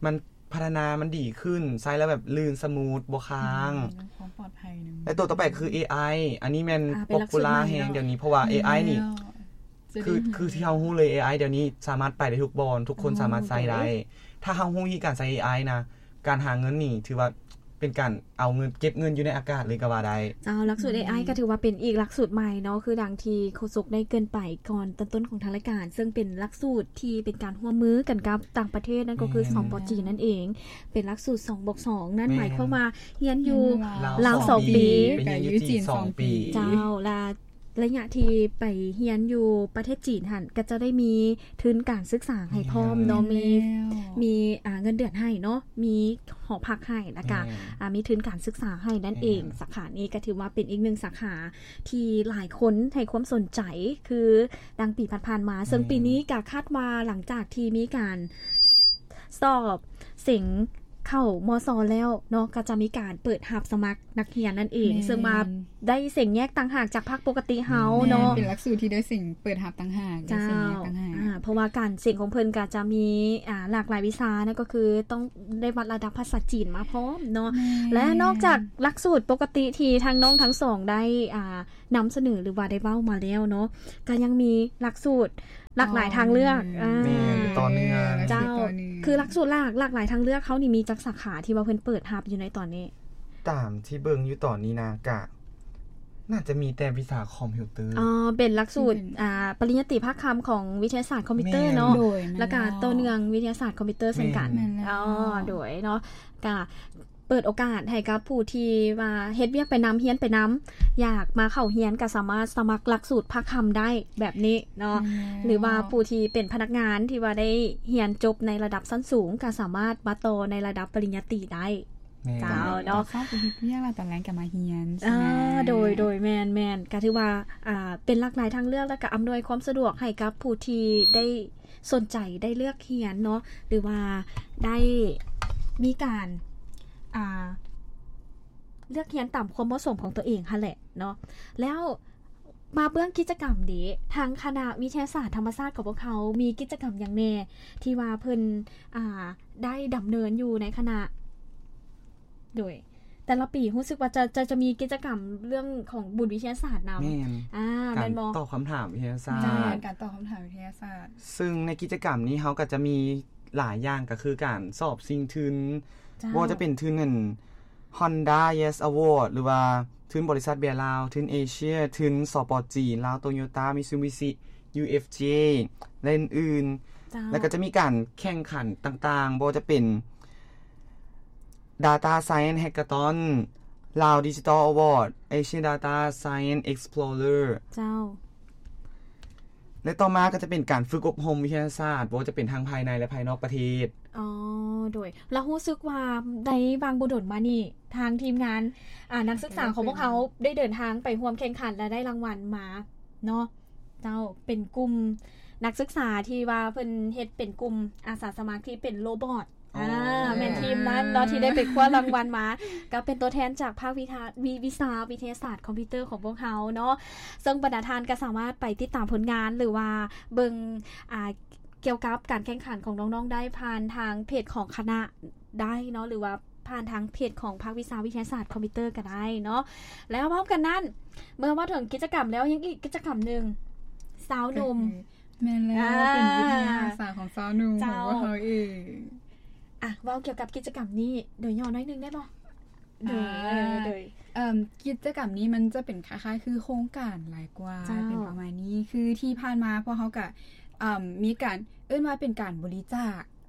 ມັນພັດທະນາມັນດີຂຶ້ນ ໃຊ້ແລ້ວແບບລື່ນສະມູດ ບໍ່ຄ້າງ ອືມ ຄວາມປອດໄພນຳ. ແລະ ໂຕຕໍ່ໄປຄື ເອໄອ ອັນນີ້ແມ່ນ ອ່າ ເປັນຫຼັກສູດ popular ໃໝ່ເນາະ ແຮງດຽວນີ້ ເພາະວ່າ ອືມ ເອໄອນີ້ ຄື ຄືທີ່ເຮົາຮູ້ເລີຍ ເອໄອດຽວນີ້ສາມາດໄປໄດ້ທຸກບ່ອນ ທຸກຄົນສາມາດໃຊ້ໄດ້. ໂດຍ ຖ້າເຮົາຮູ້ວິທີການໃຊ້ເອໄອນະ ການຫາເງິນນີ້ຖືວ່າເປັນການເອົາເງິນ ເກັບເງິນຢູ່ໃນອາກາດເລີຍກໍວ່າໄດ້. ເຈົ້າ ຫຼັກສູດ ເອໄອ ກໍຖືວ່າເປັນອີກຫຼັກສູດໃໝ່ເນາະ ຄືດັ່ງທີ່ໂຄສົກໄດ້ເກີ່ນໄປກ່ອນຕອນຕົ້ນຂອງທາງລາຍການ ເຊິ່ງເປັນຫຼັກສູດທີ່ເປັນການຮ່ວມມືກັນກັບຕ່າງປະເທດ ນັ້ນກໍຄື ແມ່ນ ສປ ຈີນ ນັ້ນເອງ ເປັນຫຼັກສູດສອງບວກສອງ ນັ້ນ ແມ່ນ ໝາຍຄວາມວ່າຮຽນຢູ່ລາວສອງປີ ລາວສອງປີ ໄປຮຽນຢູ່ຈີນສອງປີ. ເຈົ້າ ລະ ໄລຍະທີ່ໄປຮຽນຢູ່ປະເທດຈີນຫັ້ນ ກໍຈະໄດ້ມີທຶນການສຶກສາໃຫ້ພ້ອມເນາະ ແມ່ນ ມີ ແມ່ນແລ້ວ ມີ ອ່າ ເງິນເດືອນໃຫ້ເນາະ ມີຫໍພັກໃຫ້ ແລ້ວກະ ແມ່ນ ອ່າ ມີທຶນການສຶກສາໃຫ້ນັ້ນເອງ. ແມ່ນ ສາຂານີ້ກໍຖືວ່າເປັນອີກໜຶ່ງສາຂາທີ່ຫຼາຍຄົນໃຫ້ຄວາມສົນໃຈ ຄືດັ່ງປີຜ່ານໆມາ ເຊິ່ງ ແມ່ນ ປີນີ້ກໍຄາດວ່າຫຼັງຈາກທີ່ມີການ ສອບເສັງເຂົ້າ ມສ ແລ້ວເນາະ ກໍຈະມີການເປີດຮັບສະໝັກນັກຮຽນນັ້ນເອງ ແມ່ນ ເຊິ່ງວ່າໄດ້ເສັງແຍກຕ່າງຫາກຈາກພາກປົກກະຕິເຮົາເນາະ ແມ່ນ ເປັນຫຼັກສູດທີ່ໄດ້ເສັງເປີດຮັບຕ່າງຫາກ ໄດ້ເສັງແຍກຕ່າງຫາກ ເຈົ້າ ອືມ ອ່າ ເພາະວ່າການເສັງຂອງເພິ່ນກໍຈະມີ ອ່າ ຫຼາກຫຼາຍວິຊານະ ກໍຄືຕ້ອງໄດ້ວັດລະດັບພາສາຈີນມາພ້ອມເນາະ. ແມ່ນ. ແລະ ນອກຈາກຫຼັກສູດປົກກະຕິທີ່ທັງນ້ອງທັງສອງໄດ້ ອ່າ ນຳສະເໜີ ຫຼືວ່າໄດ້ເວົ້າມາແລ້ວເນາະ, ກໍຍັງມີຫຼັກສູດຫຼາກຫຼາຍທາງເລືອກ. ຕໍ່ເນື່ອງ. ອ່າ ແມ່ນ ຕໍ່ເນື່ອງ. ເຈົ້າ. ຄືຫຼັກສູດຫຼາກ ຫຼາກຫຼາຍທາງເລືອກເຮົານີ້ມີຈັກສາຂາທີ່ວ່າເພິ່ນເປີດຮັບຢູ່ໃນຕອນນີ້? ຕາມທີ່ເບິ່ງຢູ່ຕອນນີ້ນະ ກະໜ້າຈະມີແຕ່ວິຊາຄອມພິວເຕີ. ອໍ ເປັນຫຼັກສູດ ທີ່ເປັນ ອ່າ ປະລິນຍາຕີພາກຄ່ຳຂອງວິທະຍາສາດຄອມພິວເຕີເນາະ. ແມ່ນ. ໂດຍ ແມ່ນແລ້ວ. ແລ້ວກະຕໍ່ເນື່ອງວິທະຍາສາດຄອມພິວເຕີເຊັ່ນກັນ. ແມ່ນແລ້ວ. ອໍ ໂດຍເນາະ. ກະເປີດໂອກາດໃຫ້ກັບຜູ້ທີ່ວ່າເຮັດວຽກໄປນຳ ຮຽນໄປນຳ ຢາກມາເຂົ້າຮຽນກະສາມາດສະໝັກຫຼັກສູດພາກຄ່ຳໄດ້ແບບນີ້ເນາະ. ແມ່ນແລ້ວ. ຫຼືວ່າຜູ້ທີ່ເປັນພະນັກງານທີ່ວ່າໄດ້ຮຽນຈົບໃນລະດັບຊັ້ນສູງ ກະສາມາດມາຕໍ່ໃນລະດັບປະລິນຍາຕີໄດ້. ແມ່ນ. ເຈົ້າເນາະ. ເຊົ້າໄປເຮັດວຽກ ແລ້ວຕອນແລງກໍມາຮຽນ. ອ່າ ໃຊ່ໄໝ? ໂດຍ ໂດຍ ແມ່ນໆ ກໍຖືວ່າ ອ່າ ເປັນຫຼາກຫຼາຍທາງເລືອກ ແລ້ວກໍອຳນວຍຄວາມສະດວກໃຫ້ກັບຜູ້ທີ່ໄດ້ສົນໃຈໄດ້ເລືອກຮຽນເນາະ ຫຼືວ່າໄດ້ມີການ ອ່າ ເລືອກຮຽນຕາມຄວາມເໝາະສົມຂອງຕົວເອງຫັ້ນແຫຼະເນາະ. ແລ້ວ ມາເບື້ອງກິດຈະກຳເດ ທາງຄະນະວິທະຍາສາດທຳມະຊາດຂອງພວກເຮົາມີກິດຈະກຳຫຍັງແດ່ທີ່ວ່າເພິ່ນ ອ່າ ໄດ້ດຳເນີນຢູ່ໃນຄະນະ? ໂດຍ ແຕ່ລະປີຮູ້ສຶກວ່າຈະ ຈະ ຈະມີກິດຈະກຳເລື່ອງຂອງບຸນວິທະຍາສາດນຳ. ແມ່ນ. ອ່າ ການ ແມ່ນບໍ່? ຕອບຄຳຖາມວິທະຍາສາດ. ແມ່ນ ການຕອບຄຳຖາມວິທະຍາສາດ. ເຊິ່ງໃນກິດຈະກຳນີ້ເຮົາກໍຈະມີຫຼາຍຢ່າງ ກໍຄືການສອບຊິງທຶນ. ເຈົ້າ. ບໍ່ວ່າຈະເປັນທຶນອັນ Honda Yes Award ຫຼືວ່າທຶນບໍລິສັດເບຍລາວ, ທຶນເອເຊຍ, ທຶນ ສປ ຈີນ, ລາວໂຕໂຍຕ້າ, ມິຊູບິຊິ, ຢູເອັຟເຈ ແລະ ອື່ນໆ. ເຈົ້າ. ແລ້ວກໍຈະມີການແຂ່ງຂັນຕ່າງໆ ບໍ່ວ່າຈະເປັນ Data Science Hackathon, ລາວ Digital Award, Asian Data Science Explorer. ເຈົ້າ. ແລະ ຕໍ່ມາກໍຈະເປັນການຝຶກອົບຮົມວິທະຍາສາດ ບໍ່ວ່າຈະເປັນທັງພາຍໃນ ແລະ ພາຍນອກປະເທດ. ອໍ ໂດຍ ລະຮູ້ສຶກວ່າໃນຫວ່າງບໍ່ດົນມານີ້ ທາງທີມງານ ອ່າ ນັກສຶກສາຂອງພວກເຮົາໄດ້ເດີນທາງໄປຮ່ວມແຂ່ງຂັນ ແລະ ໄດ້ລາງວັນມາເນາະ. ເຈົ້າ ເປັນກຸ່ມນັກສຶກສາທີ່ວ່າເພິ່ນເຮັດເປັນກຸ່ມອາສາສະໝັກທີ່ເປັນໂຣບອດ. ອໍ ອ່າ ແມ່ນທີມນັ້ນເນາະ ທີ່ໄດ້ໄປຄວ້າລາງວັນມາ ກໍເປັນຕົວແທນຈາກພາກວິທະ ວິ ວິຊາວິທະຍາສາດຄອມພິວເຕີຂອງພວກເຮົາເນາະ. ເຊິ່ງບັນດາທ່ານກໍສາມາດໄປຕິດຕາມຜົນງານ ຫຼືວ່າເບິ່ງ ອ່າ ກ່ຽວກັບການແຂ່ງຂັນຂອງນ້ອງໆ ໄດ້ຜ່ານທາງເພຈຂອງຄະນະໄດ້ເນາະ ຫຼືວ່າຜ່ານທາງເພຈຂອງພາກວິຊາວິທະຍາສາດຄອມພິວເຕີກໍໄດ້ເນາະ. ແລ້ວພ້ອມກັນນັ້ນ ເມື່ອເວົ້າເຖິງກິດຈະກຳແລ້ວ ຍັງອີກກິດຈະກຳໜຶ່ງ ຊາວໜຸ່ມ. ແມ່ນແລ້ວ. ອ່າ ເປັນວິທະຍາອາສາຂອງຊາວໜຸ່ມຂອງພວກເຮົາເອງ. ອ່ະ ເວົ້າກ່ຽວກັບກິດຈະກຳນີ້ໂດຍຫຍໍ້ໜ້ອຍໜຶ່ງໄດ້ບໍ່? ໂດຍ ອ່າ ໂດຍ ເອີ່ມ ກິດຈະກຳນີ້ມັນຈະເປັນຄ້າຍໆ ຄືໂຄງການຫຼາຍກວ່າ. ເຈົ້າ. ເປັນປະມານນີ້ ຄືທີ່ຜ່ານມາພວກເຮົາກະ ເອີ່ມ ມີການ ເອີ້ນວ່າເປັນການບໍລິຈາກ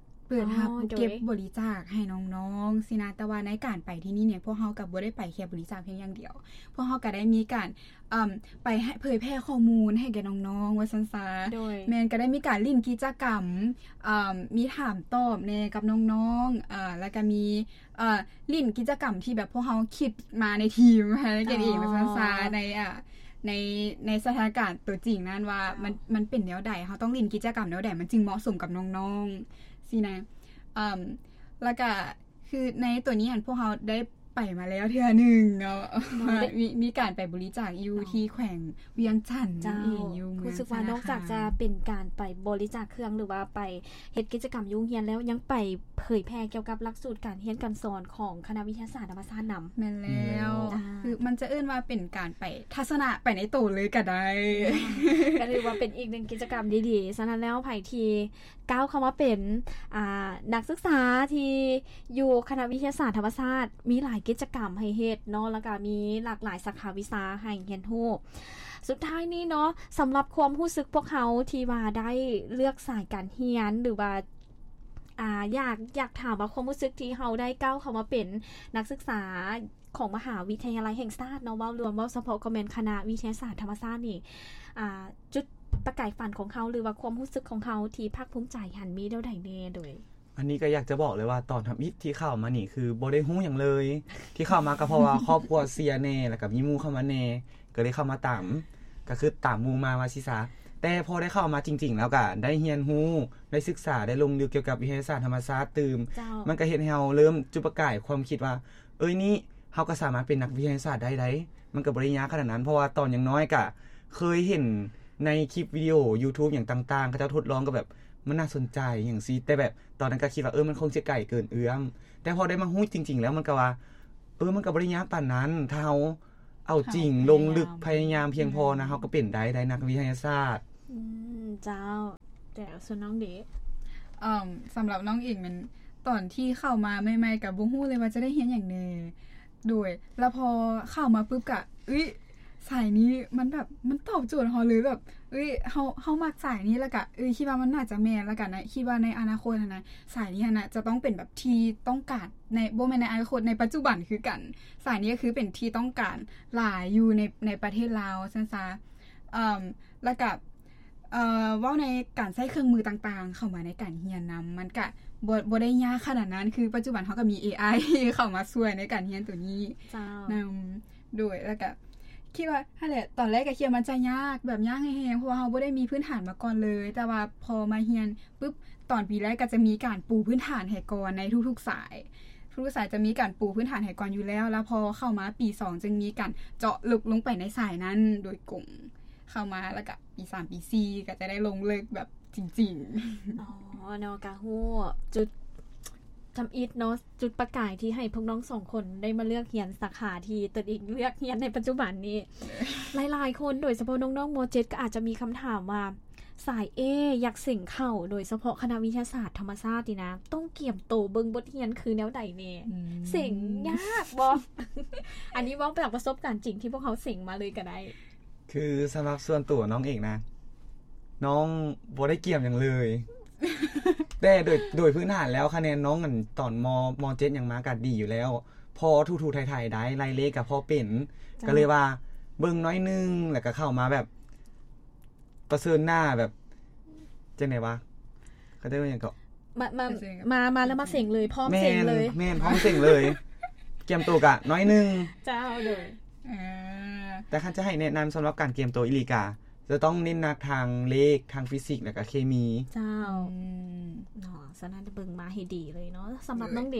ເປີດຮັບ ອໍ ເກັບ ໂດຍ ບໍລິຈາກໃຫ້ນ້ອງໆ ຊີ້ນະ. ແຕ່ວ່າໃນການໄປທີ່ນີ້ເນຍ ພວກເຮົາກໍບໍ່ໄດ້ໄປແຄ່ບໍລິຈາກພຽງຢ່າງດຽວ ພວກເຮົາກໍໄດ້ມີການ ເອີ່ມ ໄປໃຫ້ເຜີຍແຜ່ຂໍ້ມູນໃຫ້ແກ່ນ້ອງໆ ວ່າຊັ້ນຊະ. ໂດຍ. ແມ່ນ ກໍໄດ້ມີການຫຼິ້ນກິດຈະກຳ ເອີ່ມ ມີຖາມຕອບແດ່ກັບນ້ອງໆ ເອີ່ມ ແລ້ວກໍມີ ເອີ່ມ ຫຼິ້ນກິດຈະກຳທີ່ແບບພວກເຮົາຄິດມາໃນທີມໃຫ້ກັນເອງ ອໍ ວ່າຊັ້ນຊະ ໃນ ເອີ່ມ ໃນ ໃນສະຖານະການຕົວຈິງນັ້ນວ່າ ເຈົ້າ ມັນ ມັນເປັນແນວໃດ ເຮົາຕ້ອງຫຼິ້ນກິດຈະກຳແນວໃດ ມັນຈຶ່ງເໝາະສົມກັບນ້ອງໆ ຊີ້ນະ. ເອີ່ມ ແລ້ວກໍ ຄືໃນຕົວນີ້ຫັ້ນ ພວກເຮົາໄດ້ໄປມາແລ້ວເທື່ອໜຶ່ງເນາະ ເນາະ ມີ ມີການໄປບໍລິຈາກຢູ່ ອໍ ທີ່ແຂວງວຽງຈັນ. ເຈົ້າ. ນັ້ນເອງ ຢູ່ເມືອງ ຮູ້ສຶກວ່ານອກຈາກຈະເປັນການໄປບໍລິຈາກເຄື່ອງ ຫຼືວ່າໄປເຮັດກິດຈະກຳຢູ່ໂຮງຮຽນແລ້ວ ຍັງໄປເຜີຍແຜ່ກ່ຽວກັບຫຼັກສູດການຮຽນການສອນຂອງຄະນະວິທະຍາສາດທຳມະຊາດນຳ. ແມ່ນແລ້ວ. ອືມ. ອ່າ ຄືມັນຈະເອີ້ນວ່າເປັນການໄປທັດສະນະໄປໃນໂຕເລີຍກໍໄດ້. ອ່າ ກໍຖືວ່າເປັນອີກໜຶ່ງກິດຈະກຳດີໆ. ສະນັ້ນແລ້ວ ໃຜທີ່ ກ້າວເຂົ້າມາເປັນ ອ່າ ນັກສຶກສາທີ່ຢູ່ຄະນະວິທະຍາສາດທຳມະຊາດ ມີຫຼາຍກິດຈະກຳໃຫ້ເຮັດເນາະ ແລ້ວກະມີຫຼາກຫຼາຍສາຂາວິຊາໃຫ້ຮຽນຮູ້. ສຸດທ້າຍນີ້ເນາະ ສຳລັບຄວາມຮູ້ສຶກພວກເຮົາທີ່ວ່າໄດ້ເລືອກສາຍການຮຽນ ຫຼືວ່າ ອ່າ ຢາກ ຢາກຖາມວ່າຄວາມຮູ້ສຶກທີ່ເຮົາໄດ້ກ້າວເຂົ້າມາເປັນນັກສຶກສາ ຂອງມະຫາວິທະຍາໄລແຫ່ງຊາດເນາະ ເວົ້າລວມ ເວົ້າສະເພາະກໍແມ່ນຄະນະວິທະຍາສາດທຳມະຊາດນີ້ ອ່າ ຈຸດປະກາຍຝັນຂອງເຮົາ ຫຼືວ່າຄວາມຮູ້ສຶກຂອງເຮົາທີ່ພາກພູມໃຈຫັ້ນ ມີແນວໃດແດ່? ໂດຍ ອັນນີ້ກໍຢາກຈະບອກເລີຍວ່າ ຕອນທຳອິດທີ່ເຂົ້າມານີ້ ຄືບໍ່ໄດ້ຮູ້ຫຍັງເລີຍ ທີ່ເຂົ້າມາກໍເພາະວ່າຄອບຄົວເຊຍແດ່ ແລ້ວກໍມີໝູ່ເຂົ້າມາແດ່ ກໍເລີຍເຂົ້າມາຕາມ ກໍຄືຕາມໝູ່ມາວ່າຊີ້ຊະ. ແຕ່ພໍໄດ້ເຂົ້າມາຈິງໆ ແລ້ວກໍໄດ້ຮຽນຮູ້ ໄດ້ສຶກສາ ໄດ້ລົງເລິກກ່ຽວກັບວິທະຍາສາດທຳມະຊາດຕື່ມ ເຈົ້າ ມັນກໍເຮັດໃຫ້ເຮົາເລີ່ມຈຸດປະກາຍຄວາມຄິດວ່າ ເອີຍ ນີ້ ເຮົາກໍສາມາດເປັນນັກວິທະຍາສາດໄດ້ໃດ໋ ມັນກໍບໍ່ໄດ້ຍາກຂະໜາດນັ້ນ ເພາະວ່າຕອນຍັງນ້ອຍກະເຄີຍເຫັນ ໃນຄລິບວິດີໂອ YouTube ຫຍັງຕ່າງໆ ເຂົາເຈົ້າທົດລອງກໍແບບມັນໜ້າສົນໃຈຫຍັງຊີ້ ແຕ່ແບບຕອນນັ້ນກໍຄິດວ່າ ເອີ ມັນຄົງຊິໄກເກີນເອື້ອມ ແຕ່ພໍໄດ້ມາຮູ້ຈິງໆ ແລ້ວມັນກໍວ່າ ເອີ ມັນກໍບໍ່ໄດ້ຍາກປານນັ້ນ ຖ້າເຮົາເອົາຈິງ ພະຍາຍາມ ລົງລຶກ ພະຍາຍາມພຽງພໍນະ ອືມ ເຮົາກໍເປັນໄດ້ ໄດ້ນັກວິທະຍາສາດ. ອືມ ເຈົ້າ. ແຕ່ສ່ວນນ້ອງເດ? ເອີ່ມ ສຳລັບນ້ອງເອງແມ່ນ ຕອນທີ່ເຂົ້າມາໃໝ່ໆ ກໍບໍ່ຮູ້ເລີຍວ່າຈະໄດ້ຮຽນຫຍັງແດ່ ໂດຍ ແລ້ວພໍເຂົ້າມາປຶບກະ ເອີຍ ສາຍນີ້ມັນແບບ ມັນຕອບໂຈດເຮົາເລີຍ ແບບ ເອີຍ ເຮົາ ເຮົາມັກສາຍນີ້ ແລ້ວກະ ເອີຍ ຄິດວ່າມັນໜ້າຈະແມ່ນ ແລ້ວກະໃນ ຄິດວ່າໃນອະນາຄົດຫັ້ນນະ ສາຍນີ້ຫັ້ນນະ ຈະຕ້ອງເປັນແບບທີ່ຕ້ອງການໃນ ບໍ່ແມ່ນໃນອະນາຄົດ ໃນປັດຈຸບັນຄືກັນ ສາຍນີ້ກໍຄືເປັນທີ່ຕ້ອງການຫຼາຍຢູ່ໃນ ໃນປະເທດລາວຊັ້ນຊະ. ເອີ່ມ ແລ້ວກະ ເອີ່ ເວົ້າໃນການໃຊ້ເຄື່ອງມືຕ່າງໆ ເຂົ້າມາໃນການຮຽນນຳ ມັນກະບໍ່ ບໍ່ໄດ້ຍາກຂະໜາດນັ້ນ ຄືປັດຈຸບັນເຮົາກໍມີເອໄອເຂົ້າມາຊ່ວຍໃນການຮຽນໂຕນີ້ ເຈົ້າ ນຳ ໂດຍ ແລ້ວກະຄິດວ່າ ຫັ້ນແຫຼະ ຕອນແລກກໍຄິດວ່າມັນຈະຍາກ ແບບຍາກແຮງໆ ເພາະວ່າເຮົາບໍ່ໄດ້ມີພື້ນຖານມາກ່ອນເລີຍ ແຕ່ວ່າພໍມາຮຽນປຶບ ຕອນປີແລກກໍຈະມີການປູພື້ນຖານໃຫ້ກ່ອນໃນທຸກໆສາຍ ທຸກໆສາຍຈະມີການປູພື້ນຖານໃຫ້ກ່ອນຢູ່ແລ້ວ ແລ້ວພໍເຂົ້າມາປີສອງ ຈຶ່ງມີການເຈາະເລິກລົງໄປໃນສາຍນັ້ນໂດຍກົງ ເຂົ້າມາ ແລ້ວກະປີສາມ ປີສີ່ ກໍຈະໄດ້ລົງເລິກແບບຈິງໆ. ອໍ ເນາະ ກະຮູ້ຈຸດທຳອິດເນາະ ຈຸດປະກາຍທີ່ໃຫ້ພວກນ້ອງສອງຄົນໄດ້ມາເລືອກຮຽນສາຂາທີ່ຕົນເອງເລືອກຮຽນໃນປັດຈຸບັນນີ້. ຫຼາຍໆຄົນ ໂດຍສະເພາະນ້ອງໆ ມໍເຈັດ ກໍອາດຈະມີຄຳຖາມວ່າ ສາຍ A ຢາກເສັງເຂົ້າ ໂດຍສະເພາະຄະນະວິທະຍາສາດທຳມະຊາດນີ້ນະ ຕ້ອງກຽມໂຕເບິ່ງບົດຮຽນຄືແນວໃດແດ່? ອືມ ເສັງຍາກບໍ່? ອັນນີ້ເວົ້າຈາກປະສົບການຈິງທີ່ພວກເຮົາເສັງມາເລີຍກໍໄດ້. ຄືສຳລັບສ່ວນຕົວນ້ອງເອງນະ ນ້ອງບໍ່ໄດ້ກຽມຫຍັງເລີຍ ແຕ່ໂດຍ ໂດຍພື້ນຖານແລ້ວຄະແນນນ້ອງ ອັນ ຕອນ ມ ມ.ເຈັດ ຫຍັງມາກໍດີຢູ່ແລ້ວ ພໍຖູໆໄຖໆໄດ້ ໄລ່ເລກກໍພໍເປັນ ເຈົ້າ ກໍເລີຍວ່າເບິ່ງໜ້ອຍໜຶ່ງ ແລ້ວກໍເຂົ້າມາແບບ ປະເຊີນໜ້າແບບ ຈັ່ງໃດວະ ເຂົາເອີ້ນວ່າຫຍັງເກາະ ມາ ມາ ມາ ມາແລ້ວມາເສັງເລີຍ ພ້ອມເສັງເລີຍ ແມ່ນ ພ້ອມເສັງເລີຍ ກຽມໂຕກະໜ້ອຍໜຶ່ງ ເຈົ້າ ໂດຍ ເອີ ແຕ່ຄັນຈະໃຫ້ແນະນຳສຳລັບການກຽມໂຕອີ່ຫຼີກະ ຈະຕ້ອງເນັ້ນໜັກທາງເລກ ທາງຟີຊິກ ແລ້ວກະເຄມີ ເຈົ້າ ອືມ ເນາະ ສະນັ້ນເບິ່ງມາໃຫ້ດີເລີຍເນາະ. ສຳລັບນ້ອງເດ?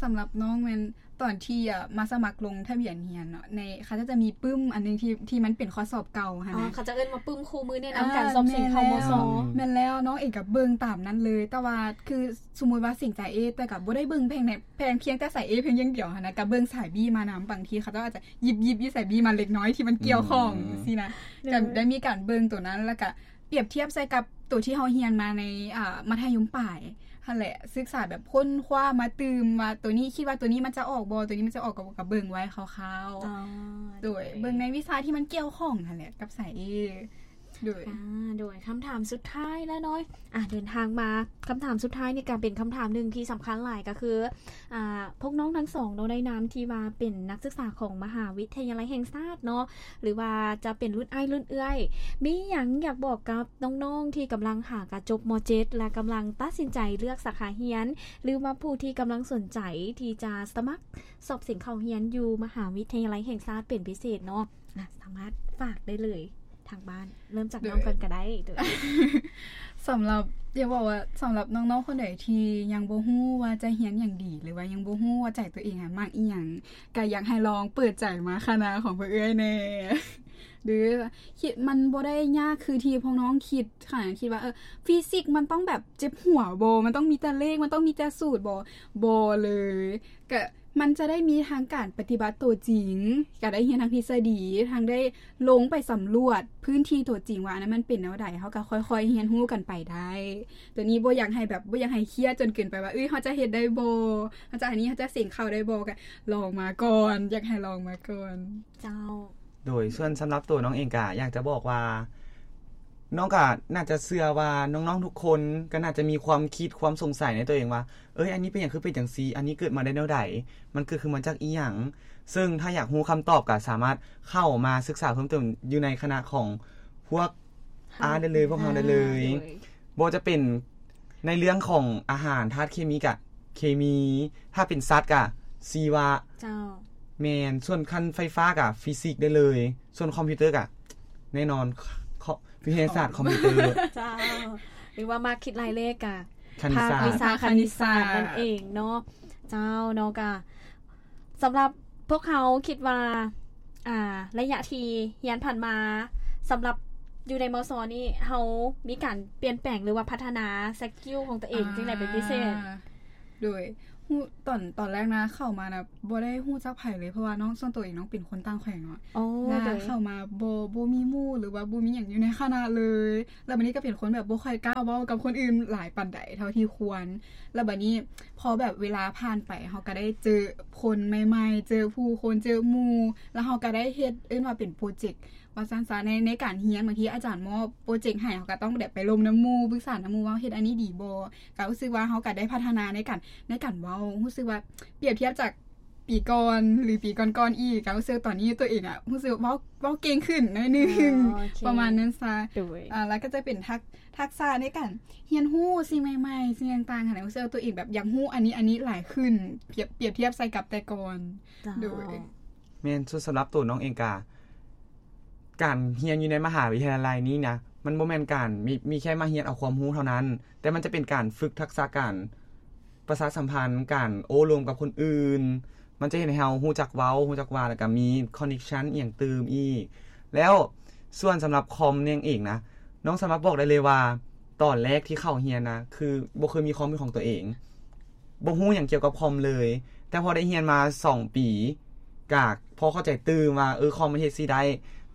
ສຳລັບນ້ອງແມ່ນ ຕອນທີ່ ອາ ມາສະໝັກລົງທະບຽນຮຽນເນາະ ໃນ ເຂົາເຈົ້າຈະມີປຶ້ມອັນໜຶ່ງທີ່ ທີ່ມັນເປັນຂໍ້ສອບເກົ່າຫັ້ນນະ ເຂົາເຈົ້າເອີ້ນວ່າປຶ້ມຄູ່ມືແນະນຳການສອບເສັງເຂົ້າ ມສ. ແມ່ນແລ້ວ ນ້ອງເອງກໍເບິ່ງຕາມນັ້ນເລີຍ ແຕ່ວ່າຄືສົມມຸດວ່າເສັງສາຍ A ແຕ່ກໍບໍ່ໄດ້ເບິ່ງພຽງແຕ່ ພຽງແຕ່ສາຍ A ພຽງຢ່າງດຽວຫັ້ນນະ ກໍເບິ່ງສາຍ B ມານຳ ບາງທີເຂົາເຈົ້າອາດຈະຢິບໆຢູ່ສາຍ B ມາເລັກນ້ອຍທີ່ມັນກ່ຽວຂ້ອງ ອືມ ຊີ້ນະ ໂດຍ ກໍໄດ້ມີການເບິ່ງໂຕນັ້ນ ແລ້ວກໍ ປຽບທຽບໃສ່ກັບໂຕທີ່ເຮົາຮຽນມາໃນ ອາ ມັດທະຍົມປາຍຫັ້ນແຫຼະ ສຶກສາແບບຄົ້ນຄວ້າມາຕື່ມວ່າ ໂຕນີ້ ຄິດວ່າໂຕນີ້ມັນຈະອອກບໍ່ ໂຕນີ້ມັນຈະອອກ ກໍ ກໍເບິ່ງໄວ້ຄ່າວໆ ອໍ ໂດຍ ໂດຍ ເບິ່ງໃນວິຊາທີ່ມັນກ່ຽວຂ້ອງຫັ້ນແຫຼະ ກັບສາຍ A ໂດຍ ອາ ໂດຍ ຄຳຖາມສຸດທ້າຍແລ້ວເນາະ ອາ ເດີນທາງມາ ຄຳຖາມສຸດທ້າຍນີ້ກໍເປັນຄຳຖາມໜຶ່ງທີ່ສຳຄັນຫຼາຍ ກໍຄື ອາ ພວກນ້ອງທັງສອງເນາະ ໃນນາມທີ່ວ່າເປັນນັກສຶກສາຂອງມະຫາວິທະຍາໄລແຫ່ງຊາດເນາະ ຫຼືວ່າຈະເປັນລຸ້ນອ້າຍລຸ້ນເອື້ອຍ ມີຫຍັງຢາກບອກກັບນ້ອງໆທີ່ກຳລັງຫາກະຈົບ ມ.ເຈັດ ແລະ ກຳລັງຕັດສິນໃຈເລືອກສາຂາຮຽນ ຫຼືວ່າຜູ້ທີ່ກຳລັງສົນໃຈທີ່ຈະສະໝັກສອບເສັງເຂົ້າຮຽນຢູ່ມະຫາວິທະຍາໄລແຫ່ງຊາດເປັນພິເສດເນາະ ອາ ສາມາດຝາກໄດ້ເລີຍ ທາງບ້ານ ເລີ່ມຈາກນ້ອງກ່ອນກໍໄດ້ ໂດຍ ສຳລັບ ຢາກບອກວ່າ ສຳລັບນ້ອງໆຄົນໃດທີ່ຍັງບໍ່ຮູ້ວ່າຈະຮຽນຫຍັງດີ ຫຼືວ່າຍັງບໍ່ຮູ້ວ່າໃຈຕົວເອງອະມັກອີ່ຫຍັງ ກໍຢາກໃຫ້ລອງເປີດໃຈມາຄະນະຂອງພວກເອື້ອຍແດ່ ຫຼື ຄິດ ມັນບໍ່ໄດ້ຍາກຄືທີ່ພວກນ້ອງຄິດ ຄະນະຄິດວ່າ ເອີ ຟີຊິກມັນຕ້ອງແບບເຈັບຫົວບໍ່ ມັນຕ້ອງມີແຕ່ເລກ ມັນຕ້ອງມີແຕ່ສູດບໍ່ ບໍ່ເລີຍ ກະ ມັນຈະໄດ້ມີທັງການປະຕິບັດໂຕຈິງ ກະໄດ້ຮຽນທັງທິດສະດີ ທັງໄດ້ລົງໄປສຳຫຼວດພື້ນທີ່ໂຕຈິງວ່າອັນນັ້ນມັນເປັນແນວໃດ ເຮົາກະຄ່ອຍໆຮຽນຮູ້ກັນໄປໄດ້ ໂຕນີ້ບໍ່ຢາກໃຫ້ແບບ ບໍ່ຢາກໃຫ້ຄຽດຈົນເກີນໄປວ່າ ເອີຍ ເຮົາຈະເຮັດໄດ້ບໍ່ ເຮົາຈະອັນນີ້ ເຮົາຈະເສັງເຂົ້າໄດ້ບໍ່ ກະລອງມາກ່ອນ ຢາກໃຫ້ລອງມາກ່ອນ ເຈົ້າ. ໂດຍ ສ່ວນສຳລັບໂຕນ້ອງເອງກະຢາກຈະບອກວ່າ ນ້ອງກະໜ້າຈະເຊື່ອວ່ານ້ອງໆທຸກຄົນກະໜ້າຈະມີຄວາມຄິດ ຄວາມສົງໄສໃນໂຕເອງວ່າ ເອີຍ ອັນນີ້ເປັນຫຍັງຄືເປັນຈັ່ງຊີ້ ອັນນີ້ເກີດມາໄດ້ແນວໃດ ມັນເກີດຂຶ້ນມາຈາກອີ່ຫຍັງ ເຊິ່ງຖ້າຢາກຮູ້ຄຳຕອບກະສາມາດເຂົ້າມາສຶກສາເພີ່ມເຕີມຢູ່ໃນຄະນະຂອງພວກ ອາ ໄດ້ເລີຍ ພວກເຮົາໄດ້ເລີຍ ໂດຍ ບໍ່ວ່າຈະເປັນໃນເລື່ອງຂອງອາຫານ ທາດເຄມີກະເຄມີ ຖ້າເປັນສັດກະຊີວະ ເຈົ້າ ແມ່ນ ສ່ວນຄັນໄຟຟ້າກະຟີຊິກໄດ້ເລີຍ ສ່ວນຄອມພິວເຕີກະແນ່ນອນ ຄ- ວິທະຍາສາດຄອມພິວເຕີ ເຈົ້າ ຫຼືວ່າມັກຄິດໄລ່ເລກກະ ຄະນິດສາດ ພາກວິຊາຄະນິດສາດນັ້ນເອງເນາະ ເຈົ້າ ເນາະ ກະ ສຳລັບພວກເຮົາຄິດວ່າ ອ່າ ໄລຍະທີ່ຮຽນຜ່ານມາ ສຳລັບ ຢູ່ໃນ ມສ ນີ້ ເຮົາມີການປ່ຽນແປງ ຫຼືວ່າພັດທະນາສະກິວຂອງຕົວເອງຈັ່ງໃດເປັນພິເສດ? ອ່າ ໂດຍ ຮູ້ ຕອນ ຕອນແລກນະ ເຂົ້າມານະ ບໍ່ໄດ້ຮູ້ຈັກໃຜເລີຍ ເພາະວ່ານ້ອງ ສ່ວນຕົວເອງນ້ອງເປັນຄົນຕ່າງແຂວງເນາະ ອໍ ແລ້ວ ໂດຍ ເຂົ້າມາບໍ່ ບໍ່ມີໝູ່ ຫຼືວ່າບໍ່ມີຫຍັງຢູ່ໃນຄະນະເລີຍ ແລ້ວບາດນີ້ກໍເປັນຄົນແບບບໍ່ຄ່ອຍກ້າເວົ້າກັບຄົນອື່ນຫຼາຍປານໃດເທົ່າທີ່ຄວນ ແລ້ວບາດນີ້ພໍແບບເວລາຜ່ານໄປ ເຮົາກໍໄດ້ເຈີຄົນໃໝ່ໆ ເຈີຜູ້ຄົນ ເຈີໝູ່ ແລ້ວເຮົາກໍໄດ້ເຮັດ ເອີ້ນວ່າເປັນໂປຣເຈັກ ວ່າຊັ້ນຊະ ໃນ ໃນການຮຽນ ບາງທີອາຈານມອບໂປຣເຈັກໃຫ້ ເຮົາກໍຕ້ອງແບບໄປລົມນຳໝູ່ ປຶກສານຳໝູ່ວ່າເຮັດອັນນີ້ດີບໍ່ ກໍຮູ້ສຶກວ່າເຮົາກໍໄດ້ພັດທະນາໃນການ ໃນການເວົ້າ ຮູ້ສຶກວ່າປຽບທຽບຈາກປີກ່ອນ ຫຼື ປີກ່ອນໆອີກ ກໍຮູ້ສຶກຕອນນີ້ຕົວເອງອະ ຮູ້ສຶກເວົ້າ ເວົ້າເກັ່ງຂຶ້ນໜ້ອຍໜຶ່ງ ອໍ ໂອເຄ ປະມານນັ້ນຊະ ໂດຍ ອາ ແລ້ວກໍຈະເປັນທັກ ທັກສະໃນການຮຽນຮູ້ສິ່ງໃໝ່ໆ ສິ່ງຕ່າງໆ ຫັ້ນນະ ຮູ້ສຶກວ່າຕົວເອງແບບຢາກຮູ້ອັນນີ້ ອັນນີ້ຫຼາຍຂຶ້ນ ປຽບ ປຽບທຽບໃສ່ກັບແຕ່ກ່ອນ ເຈົ້າ ໂດຍ ແມ່ນ ສ່ວນສຳລັບໂຕນ້ອງເອງກະ ການຮຽນຢູ່ໃນມະຫາວິທະຍາໄລນີ້ນະ ມັນບໍ່ແມ່ນການມີ ມີແຄ່ມາຮຽນເອົາຄວາມຮູ້ເທົ່ານັ້ນ ແຕ່ມັນຈະເປັນການຝຶກທັກສະການປະຊາສຳພັນ ການໂອ້ລົມກັບຄົນອື່ນ ມັນຈະເຮັດໃຫ້ເຮົາຮູ້ຈັກເວົ້າ ຮູ້ຈັກວ່າ ແລ້ວກະມີຄອນເນັກຊັນອີ່ຫຍັງຕື່ມອີກ ແລ້ວສ່ວນສຳລັບຄອມນີ້ເອງນະ ນ້ອງສາມາດບອກໄດ້ເລີຍວ່າ ຕອນແລກທີ່ເຂົ້າຮຽນນະ ຄືບໍ່ເຄີຍມີຄອມເປັນຂອງຕົວເອງ ບໍ່ຮູ້ຫຍັງກ່ຽວກັບຄອມເລີຍ ແຕ່ພໍໄດ້ຮຽນມາສອງປີ ກະພໍເຂົ້າໃຈຕື່ມວ່າ ເອີ ຄອມມັນເຮັດຊີ້ໄດ້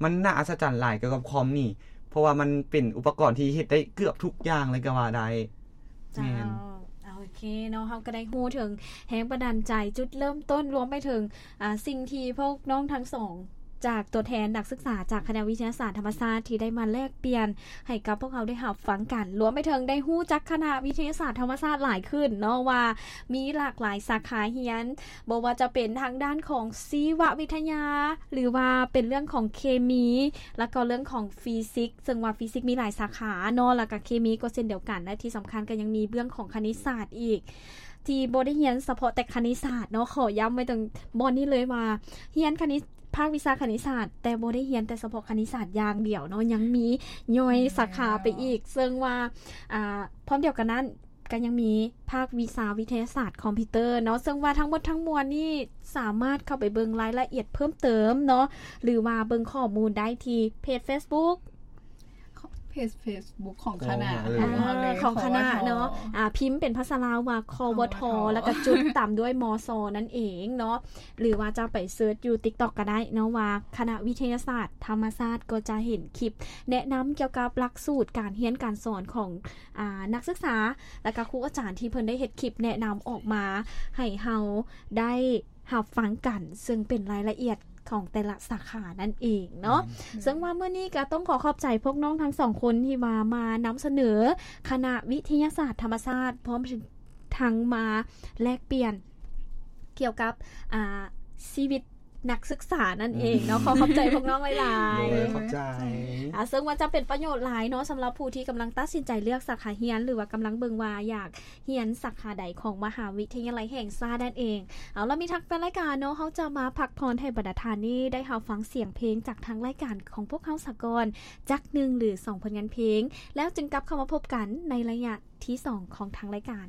ມັນໜ້າອັດສະຈັນຫຼາຍກ່ຽວກັບຄອມນີ້ ເພາະວ່າມັນເປັນອຸປະກອນທີ່ເຮັດໄດ້ເກືອບທຸກຢ່າງເລີຍກໍວ່າໄດ້ ເຈົ້າ ແມ່ນ ໂອເຄເນາະ ເຮົາກໍໄດ້ຮູ້ເຖິງແຮງບັນດານໃຈ ຈຸດເລີ່ມຕົ້ນ ລວມໄປເຖິງ ອາ ສິ່ງທີ່ພວກນ້ອງທັງສອງ ຈາກຕົວແທນນັກສຶກສາຈາກຄະນະວິທະຍາສາດທຳມະຊາດ ທີ່ໄດ້ມາແລກປ່ຽນໃຫ້ກັບພວກເຮົາໄດ້ຮັບຟັງກັນ ລວມໄປເຖິງໄດ້ຮູ້ຈັກຄະນະວິທະຍາສາດທຳມະຊາດຫຼາຍຂຶ້ນເນາະ ວ່າມີຫຼາກຫຼາຍສາຂາຮຽນ ບໍ່ວ່າຈະເປັນທາງດ້ານຂອງຊີວະວິທະຍາ ຫຼືວ່າເປັນເລື່ອງຂອງເຄມີ ແລ້ວກໍເລື່ອງຂອງຟີຊິກ ເຊິ່ງວ່າຟີຊິກມີຫຼາຍສາຂາເນາະ ແລ້ວກໍເຄມີກໍເຊັ່ນດຽວກັນ ແລະ ທີ່ສຳຄັນກໍຍັງມີເລື່ອງຂອງຄະນິດສາດອີກ ທີ່ບໍ່ໄດ້ຮຽນສະເພາະແຕ່ຄະນິດສາດເນາະ ຂໍຢ້ຳໄວ້ຕາງບ່ອນນີ້ເລີຍວ່າ ຮຽນຄະນິດ ພາກວິຊາຄະນິດສາດ ແຕ່ບໍ່ໄດ້ຮຽນແຕ່ສະເພາະຄະນິດສາດຢ່າງດຽວເນາະ ຍັງມີຍ່ອຍສາຂາໄປອີກ ເຊິ່ງວ່າ ອາ ພ້ອມດຽວກັນນັ້ນ ກໍຍັງມີພາກວິຊາວິທະຍາສາດຄອມພິວເຕີເນາະ ເຊິ່ງວ່າທັງໝົດທັງມວນນີ້ສາມາດເຂົ້າໄປເບິ່ງລາຍລະອຽດເພີ່ມເຕີມເນາະ ຫຼືວ່າເບິ່ງຂໍ້ມູນໄດ້ທີ່ເພຈເຟສບຸກ ເພຈເຟສບຸກຂອງຄະນະ ຂອງ ຂອງຄະນະເນາະ ອາ ພິມເປັນພາສາລາວວ່າ ຄວທ ຄທ ແລ້ວກໍຈຸດຕາມດ້ວຍ ມສ ນັ້ນເອງເນາະ ຫຼືວ່າຈະໄປເສີດຢູ່ຕິກຕັອກກໍໄດ້ເນາະ ວ່າຄະນະວິທະຍາສາດທຳມະຊາດ ກໍຈະເຫັນຄລິບແນະນຳກ່ຽວກັບຫຼັກສູດການຮຽນການສອນຂອງ ອາ ນັກສຶກສາ ແລ້ວກໍຄູອາຈານທີ່ເພິ່ນໄດ້ເຮັດຄລິບແນະນຳອອກມາໃຫ້ເຮົາໄດ້ ຮັບຟັງກັນ ເຊິ່ງເປັນລາຍລະອຽດຂອງແຕ່ລະສາຂານັ້ນເອງເນາະ ເຊິ່ງວ່າມື້ນີ້ກໍຕ້ອງຂໍຂອບໃຈພວກນ້ອງທັງສອງຄົນທີ່ວ່າມານຳສະເໜີຄະນະວິທະຍາສາດທຳມະຊາດ ພ້ອມທັງມາແລກປ່ຽນກ່ຽວກັບ ອາ ຊີວິດນັກສຶກສານັ້ນເອງເນາະ ຂໍຂອບໃຈພວກນ້ອງຫຼາຍໆ ໂດຍ ຂອບໃຈ ອາ ເຊິ່ງວ່າຈະເປັນປະໂຫຍດຫຼາຍເນາະ ສຳລັບຜູ້ທີ່ກຳລັງຕັດສິນໃຈເລືອກສາຂາຮຽນ ຫຼືວ່າກຳລັງເບິ່ງວ່າຢາກ ຮຽນສາຂາໃດຂອງມະຫາວິທະຍາໄລແຫ່ງຊາດນັ້ນເອງ. ເອົາລະ ມີທັງແຟນລາຍການເນາະ ເຮົາຈະມາພັກຜ່ອນໃຫ້ບັນດາທ່ານນີ້ໄດ້ຮັບຟັງສຽງເພງຈາກທາງລາຍການຂອງພວກເຮົາສາກ່ອນຈັກໜຶ່ງ ຫຼື ສອງຜົນງານເພງ ແລ້ວຈຶ່ງກັບເຂົ້າມາພົບກັນໃນໄລຍະທີສອງຂອງທາງລາຍການ.